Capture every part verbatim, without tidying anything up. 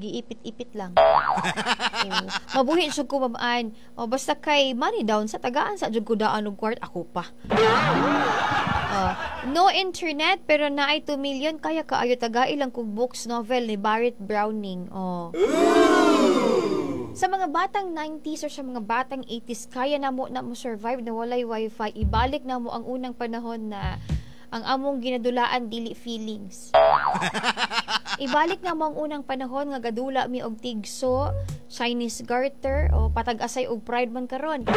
Giipit-ipit lang. Oh, mabuhi jud ko, Ma'am Ann. Oh, basta kay money down sa tagaan sa jud ko daan og kwart ako pa. Oh, no internet pero naay two million, kaya kaayo tagai lang kog books, novel ni Barrett Browning. Oh. Sa mga batang nineties or sa mga batang eighties, kaya na mo na mo survive na walay wifi. Ibalik na mo ang unang panahon na ang among ginadulaan dili feelings. Ibalik na mo ang unang panahon nga gadula mi og tigso, Chinese garter, o patag-asay og pride man karon.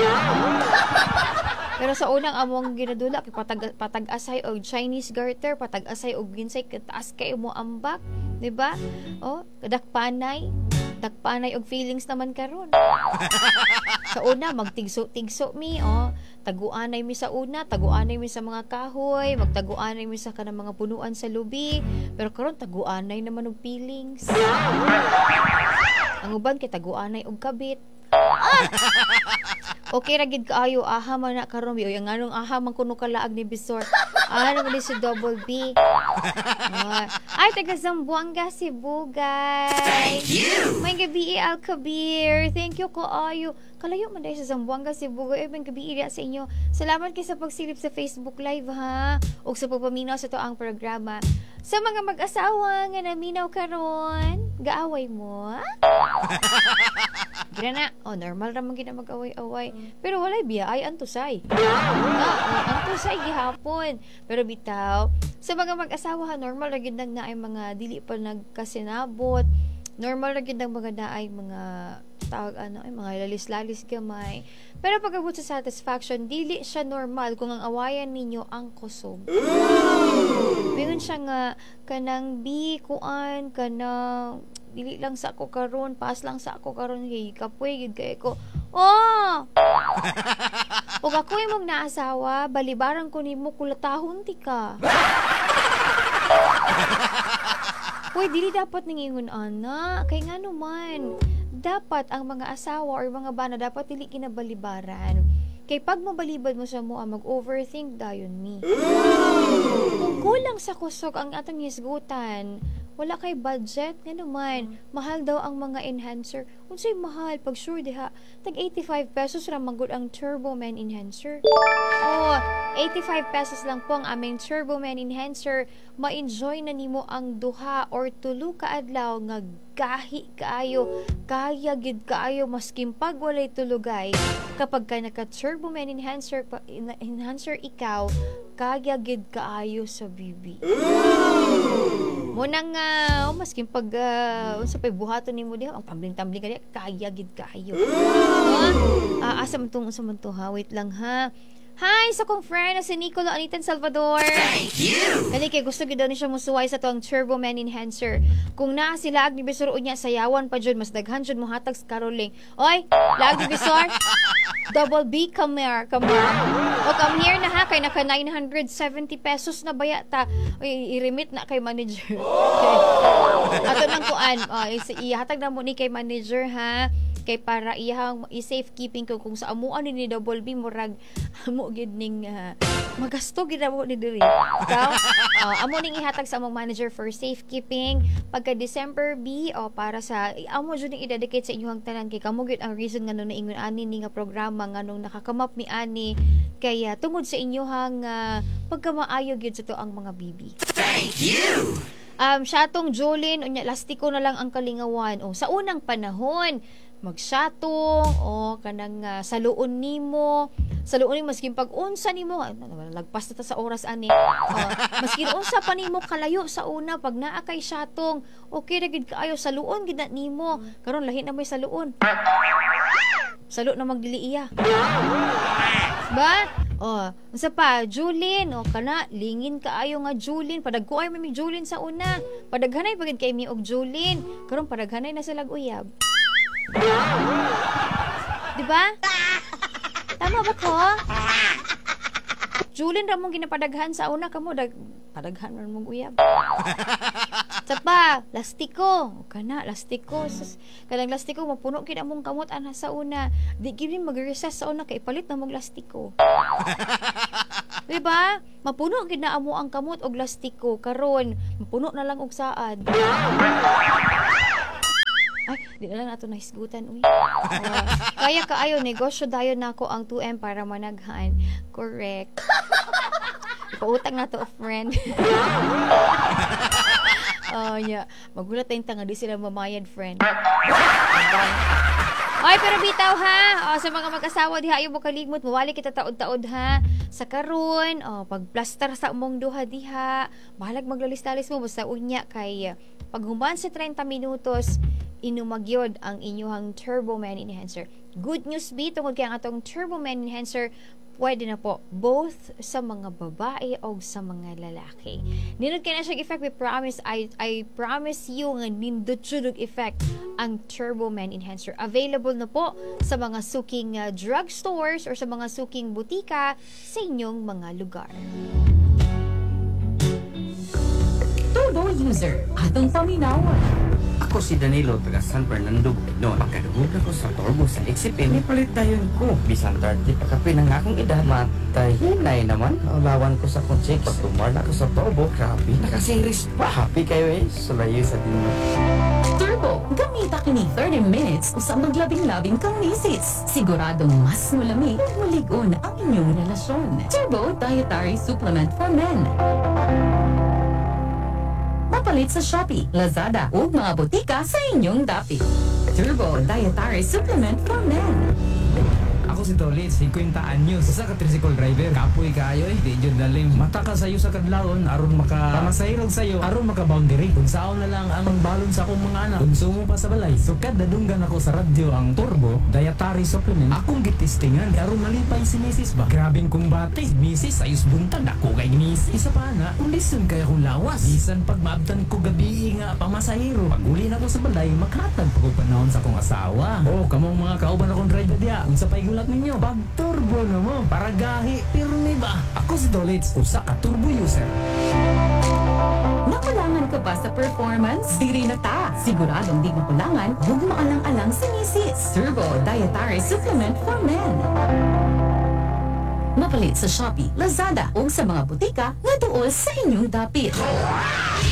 Pero sa unang among ginadula kay patag patag-asay og Chinese garter, patag-asay og ginsay kataas kay mo ambak, di ba? Oh, dakpanay, dakpanay og feelings naman karon. Sa una magtigso-tigso mi, oh, taguanay mi sa una, taguanay mi sa mga kahoy, magtaguanay mi sa kanang mga punuan sa lubi, pero karon taguanay naman og feelings. Ang uban kay taguanay og kabit. Ah! Okay ra gid kaayo, aha man na karon bi. Oy, ang anong aha man kuno kalaag ni Bisor. Ah, naman ni si Double B. Ah. Ay, taga Zamboanga, Sibugay. Thank you. May gabi, Al Kabir. Thank you kaayo. Kalayo man dahil sa Zamboanga, Sibugay. Ay, may gabi sa inyo. Salamat kay sa pagsilip sa Facebook Live ha. Ug sa pagpaminaw sa to ang programa. Sa mga mag-asawa nga naminaw karon, gaaway mo? Gira na. Oh, normal ra man gid na mag-away-away. Pero walay biya ay antusay. Na, oh, antusay gihapon. Pero bitaw, sa mga mag-asawa ha, normal ra gid nang naay mga dili pa nagkasinabot. Normal ra gid nang mga naay mga tawag ano ay mga lalis-lalis gamay. Pero pag-abot sa satisfaction, dili siya normal kung ang awayan ninyo ang kusog. Mingon siya nga kanang bi kuan kanang dili lang sa ako karon, pass lang sa ako karon kay kapoy gid kay ko. Oh! Ug ako imong naasawa, balibaran ko nimo, kulatahon ti ka. Uy, dili dapat ningingon ana, kay ngano man dapat ang mga asawa or mga bana dapat dili kinabalibaran. Kay pag mabalibad mo sa mua, mag-overthink dayon mi. Kung kulang sa kusog ang atong hisgutan, wala kay budget, nga naman, mahal daw ang mga enhancer. Unsay mahal? Pag sure diha, tag eighty-five pesos ra man gud ang Turbo Man Enhancer. Oh, eighty-five pesos lang po ang aming Turbo Man Enhancer. Ma-enjoy na nimo ang duha or tulo ka adlaw nga gahi kaayo, kaya gid kaayo maskin pag walay tulugay. Kapag ka naka Turbo Man Enhancer pa, enhancer ikaw, kaya gid kaayo sa bibi. Muna nga, oh, maskin pag uh, unsa pay buhaton nimo diha, ang tambling-tambling ka diha, kaya gid kaayo. Ah, asa man tong, unsa man to ha? Wait lang ha. Hi sa kong friend na si Nicolo Anitan Salvador. Thank you. Kani kay gusto gid daw ni siya musuway sa tuang Turbo Man Enhancer. Kung naa sila ag ni Bisor unya sayawan pa jud, mas daghan jud mohatag sa caroling. Oy, laag ni Bisor. Double B, come here, come here. O come here na ha, kay naka nine hundred seventy pesos na baya ta. Oy, i-remit na kay manager. Okay. Ato nang kuan, oh, ihatag na mo ni kay manager ha. Kay para iyang i-safe keeping ko kung sa amuan ni Double B murag amo gid ning uh, magasto gid amo ni diri. Ikaw, uh, amo ning ihatag sa among manager for safekeeping pagka December B o oh, para sa amo jud ning i-dedicate sa inyong tanan kay kamo gid ang reason nganong naingon ani ni nga programa nganong nakakamap mi ani kay uh, tungod sa inyohang uh, pagkamaayo gid sa to ang mga bibi. Thank you. Um syatong Jolene unya lastiko na lang ang kalingawan. O sa unang panahon magsyatong o kanang uh, saluon nimo, saluon nimo maskin pag unsa nimo, lagpas na ta sa oras ani. Oh, maskin unsa pa nimo kalayo sa una pag naa kay syatong, okay ra gid kaayo saluon gid na nimo. Karon lahi na may saluon. Salo na magdili iya. Ba? Oh, unsa pa Julin, o kana lingin kaayo nga Julin, padagko ay may Julin sa una. Padaghanay pagid kay mi og Julin. Karon padaghanay na sa lag-uyab. Diba? Tama ba ko? Julin ra mong ginapadaghan sa una kamo dag padaghan ra mong uyab. Sa pa, lastiko. O kana, lastiko. Sus, kanang lastiko mapuno gid among kamot ana sa una. Di gid mag-recess sa una kay ipalit na mong lastiko. Diba? Mapuno gid na amo ang kamot og lastiko karon, mapuno na lang og saad. Di na lang nato nahisgutan, uy. Oh, kaya kaayo negosyo dayon nako ang two M para managhan. Correct. Ipautang na to, friend. Oh, yeah. Magulat tayong tanga, di sila mamayad, friend. Ay, pero bitaw ha. O, sa mga mag-asawa diha, ayaw mo kaligmot, mawali kita taod-taod ha. Sa karon, o, pagplastar sa umong duha diha, bahalag maglalis-lalis mo basta unya kay paghuman sa thirty minutos, inumagyod ang inyuhang Turbo Man Enhancer. Good news bi tungod kay ang atong Turbo Man Enhancer pwede na po both sa mga babae o sa mga lalaki. Nindot kay na siyang effect, we promise, I, I promise you nga nindot jud og effect ang Turbo Man Enhancer. Available na po sa mga suking uh, drugstores or sa mga suking butika sa inyong mga lugar. Turbo user, atong paminawon. Ako si Danilo, taga San Fernando, Bukidnon. Pagkadungog ako sa Turbo sa X F M, nipalit dayon ko. Bisan thirty pa kapin ang akong edad, matay hinay naman. Naulawan ko sa akong chicks. Pag tumar na ako sa Turbo, grabe, nakasiris pa. Happy kayo eh, sulayo sa dinyo. Turbo, gamita kini thirty minutes usa maglabing-labing kang misis. Siguradong mas mulami ug mulig-on ang inyong relasyon. Turbo Dietary Supplement for Men. Mapalit sa Shopee, Lazada ug mga botika sa inyong dapit. Turbo Dietary Supplement for Men. Ako si Tolit, fifty anyos. Usa ka tricycle driver. Kapoy kaayo eh. Di jud lalim. Mata ka sayo sa kadlawon aron maka pamasahirog sayo, aron maka boundary. Kung saon na lang ang balon sa akong mga anak. Konsumo pa sa balay. So kada dunggan ako sa radyo ang Turbo Dietary Supplement. Akong gitestingan aron malipay si Missus ba. Grabing kumbate. Missus ayos buntag ako kay Missus. Isa pa na, kondisyon kay akong lawas. Bisan pag maabtan ko gabi nga pamasahiro. Pag uli na ko sa balay, makatag pa ko panahon sa akong asawa. Oh, kamong mga kauban akong driver diya. Unsa pa'y gulat ninyo? Pag turbo na mo, para gahi, pirmi ba? Ako si Tolits, usa ka turbo user. Nakulangan ka ba sa performance? Diri na ta! Siguradong di makulangan, huwag maalang-alang si Missus Turbo Dietary Supplement for Men. Mapalit sa Shopee, Lazada ug sa mga butika nga duol sa inyong dapit.